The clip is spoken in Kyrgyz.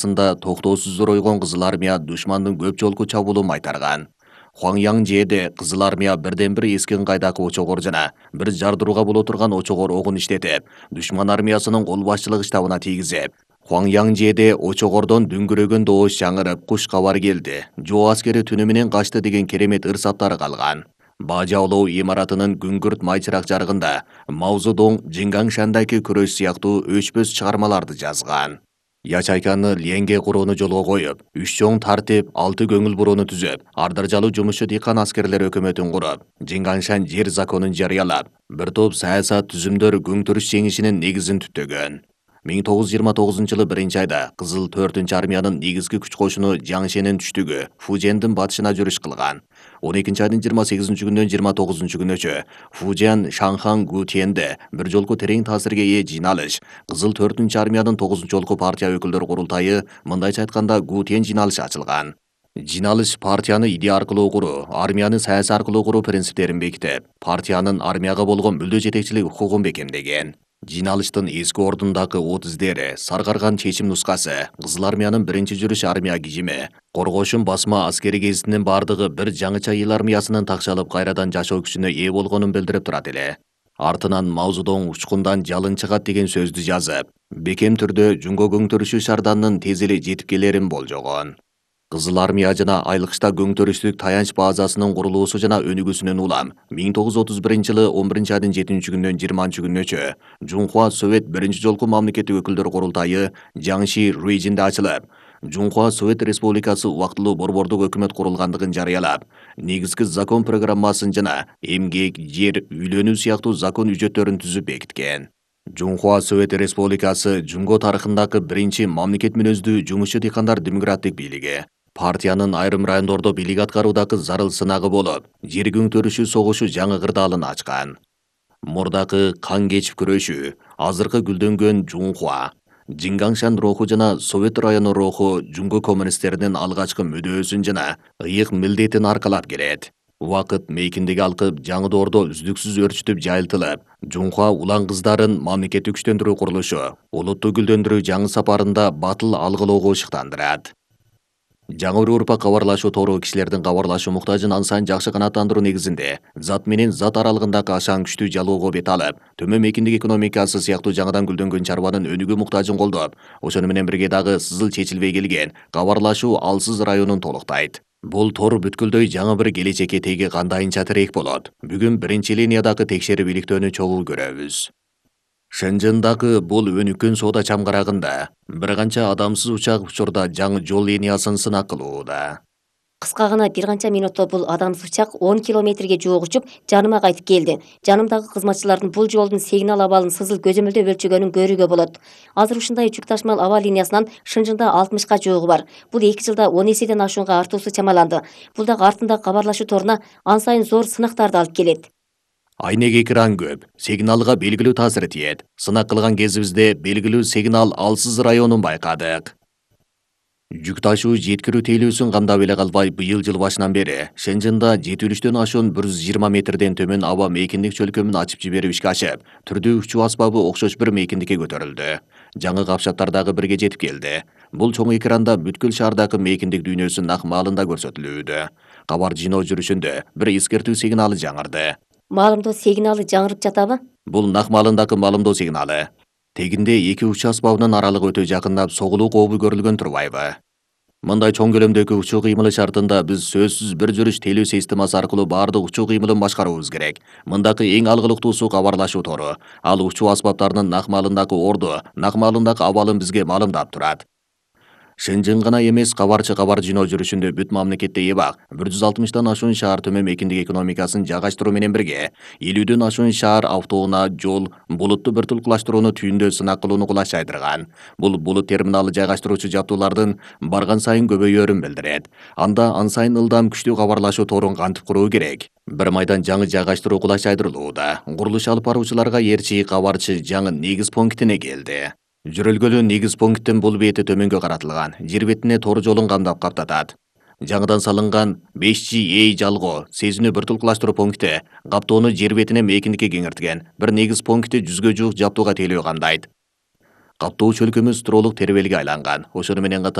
токтоосуз зоройгон Кызыл армия душмандын көп жолку чабуулун майтарган. Хуаңяңжээде Кызыл армия бирден бир эскин кайдакы очогор жана бир жардырууга боло турган очогор огун иштетип, душман армиясынын кол башчылык штабына тийгизип, Хуаңяңжээде очогордон дүңгүрөгөн добуш жаңырып, куш кабар келди. Жоо аскери түнү менен качты деген керемет ырсаттары калган. Бажаолоо имаратынын күңгүрт майчырак жарыгында Маузудоң Жиңгаңшандагы күрөш сыяктуу өчпөс чыгармаларды жазган. Ячайканы ленге курууну жолго коюп, 3 чоң тартип, 6 көңүл бурууну түзүп, ардаржалуу жумушчу дыйкан аскерлер өкмөтүн куруп, Жиңгаңшан жер законун жарыялап, бир топ саясат түзүмдөр күңтүрүш жеңишинин негизин түптөгөн. 1929-жылы 1-айда Кызыл 4 армиянын негизги күч кошуну Жаңшенин түштүгү Фужендин батышына жүрүш кылган. 12-айдын 28-күнүнөн 29-күнүчө Фужен Шанхан Гутиенде бир жолку терең таасирге ээ жыйналыш, Кызыл 4 армиянын 9-жолку партия өкүлдөр курултайы, мындайча айтканда Гутиен жыйналышы ачылган. Жыйналыш партияны идея аркылуу куруу, армияны саясий аркылуу куруу принциптерин бекитип, партиянын армияга болгон мүлдө жетекчилик укугун бекемдеген. Жыйналыштын эски ордундагы от издери, саргарган чечим нускасы, Кызыл армиянын 1-жүрүш армия кижими, коргошун басма аскери гезитинин бардыгы бир жаңыча эл армиясынын такшалып кайрадан жашоо күчүнө ээ болгонун билдирип турат эле. Артынан Маузудоң учкундан жалын чыгат деген сөздү жазып, бекем түрдө Жумго көңтөрүшү шарданынын тез эле жетип келерин болжогон. Кызыл армия жана айылкычта көңтөрүштүк таянч базасынын курулуусу жана өнүгүүсүнөн улам 1931-жылы 11-айдын 7-күнүнөн 20-күнүнчө Жунхуа Совет 1-жолку мамлекеттик өкүлдөр курултайы Жаңши Руйжинде ачылып, Жунхуа Совет Республикасы убактылуу борбордук өкмөт курулгандыгын жарыялап, негизги закон программасын жана эмгек, жер, үйлөнүү сыяктуу закон үжөттөрүн түзүп бекиткен. Жунхуа Совет Республикасы Жумго тарыхындагы биринчи мамлекет мүнөздүү жумушчу дыйкандар демократик бийлиги. Партиянын айрым райондордо бийлик аткаруудагы зарыл сынагы болуп, жер көңтөрүшү согушу жаңы кырдаалын ачкан. Мурдакы кан кечип күрөшүү, азыркы гүлдөнгөн Жунхуа, Жиңгаңшан руху жана Совет району руху Жумго коммунисттеринин алгачкы мүдөөсүн жана ыйык милдетин аркалап келет. Убакыт мейкиндиги алкып, жаңы доордо үздүксүз өрчүтүп жайылтылып, Жунхуа улан кыздарын мамлекеттик күчтөндүрүү курулушу, улутту гүлдөндүрүү жаңы сапарында батыл алгылоого ышыктандырат. Жаңы урпак кабарлашуу тору кишилердин кабарлашуу муктажын ан сайын жакшы канааттандыруу негизинде зат менен зат аралыгындагы ашаң күчтүү жалоого бет алып, төмөн мейкиндик экономикасы сыяктуу жаңыдан гүлдөнгөн чарбанын өнүгүү муктажын колдоп, ошону менен бирге дагы сызыл чечилбей келген кабарлашуу алсыз районун толуктайт. Бул тор бүткүлдөй жаңы бир келечекке теги кандайынча тирек болот. Бүгүн биринчи линиядагы текшерип иликтөөнү чогуу көрөбүз. Шэнжэндагы бул өнүккөн соода чамгарагында бир канча адамсыз учак учурда жаңы жол линиясын сынак кылууда. Кыска гана бир канча минутта бул адамсыз учак 10 километрге жуук учуп, жаныма кайтып келди. Жанымдагы кызматчылардын бул жолдун сигнал абалын сызыл көзөмөлдөп өлчөгөнүн көрүүгө болот. Азыр ушундай жүк ташмал аба линиясынан Шэнжэндө 60ка жуугу бар. Бул 2 жылда 10 эседен ашуунга артуусу чамаланды. Бул дагы артындагы кабарлашуу торуна ан сайын зор сынактарды алып келет. Айнек экран көп, сигналга белгилүү таасир тиет. Сынак кылган кезибизде белгилүү сигнал алсыз районун байкадык. Жүк ташуу жеткирүү тейлөөсүн камдап эле калбай, быйыл жыл башынан бери Шэнжэндө жетилиштөн ашуун 120 метрден төмөн аба мейкиндик чөлкөмүн ачып жиберип ишке ашып, түрдүү учуу асбабы окшош бир мейкиндикке көтөрүлдү. Жаңы капчаттар дагы бирге жетип келди. Бул чоң экранда бүткүл шаардагы мейкиндик дүйнөсү нак маалында көрсөтүлүүдө. Кабар жыйноо жүрүшүндө бир эскертүү сигналы жаңырды. Маалымдоо сигналы жаңырып жатабы? Бул нак маалындагы маалымдоо сигналы. Тегинде эки учуу асбабынын аралыгы өтө жакындап, согулуу кообу көрүлгөн турбайбы? Мындай чоң көлөмдөгү учуу кыймылы шартында биз сөзсүз бир жүрүш тейлөө системасы аркылуу баардык учуу кыймылын башкарууубуз керек. Мындагы эң алгылыктуусу кабарлашуу тору. Ал учуу асбаптарынын нак маалындагы орду, нак маалындагы абалын бизге маалымдап турат. Шэнжэн гана эмес, кабарчы кабар жыйноо жүрүшүндө бүт мамлекетте эбак 160тан ашуун шаар төмөн мейкиндик экономикасын жайгаштыруу менен бирге 50дөн ашуун шаар автоунаа, жол, булутту биртулкулаштырууну түйүндө сынак кылууну кулаш жайдырган. Бул булут терминалы жайгаштыруучу жабдуулардын барган сайын көбөйөөрүн билдирет. Анда ан сайын ылдам күчтүү кабарлашуу торун кантип куруу керек? Бир майдан жаңы жайгаштыруу кулаш жайдырылууда. Курулуш алып баруучуларга ээрчи кабарчы жаңы негиз пунктине келди. Жүрөлгөлүү негиз пункттин бул бети төмөнгө каратылган, жер бетине тор жолун камдап каптатат. Жаңыдан салынган 5G жалгоо, сезинүү биртулкулаштыруу пункти каптоону жер бетине мейкиндикке кеңейткен. Бир негиз пункти 100гө жуук жабдууга тейлөө камдайт. Каттоочу өлкөмүз тууралык тербелге айланган. Ошону менен катар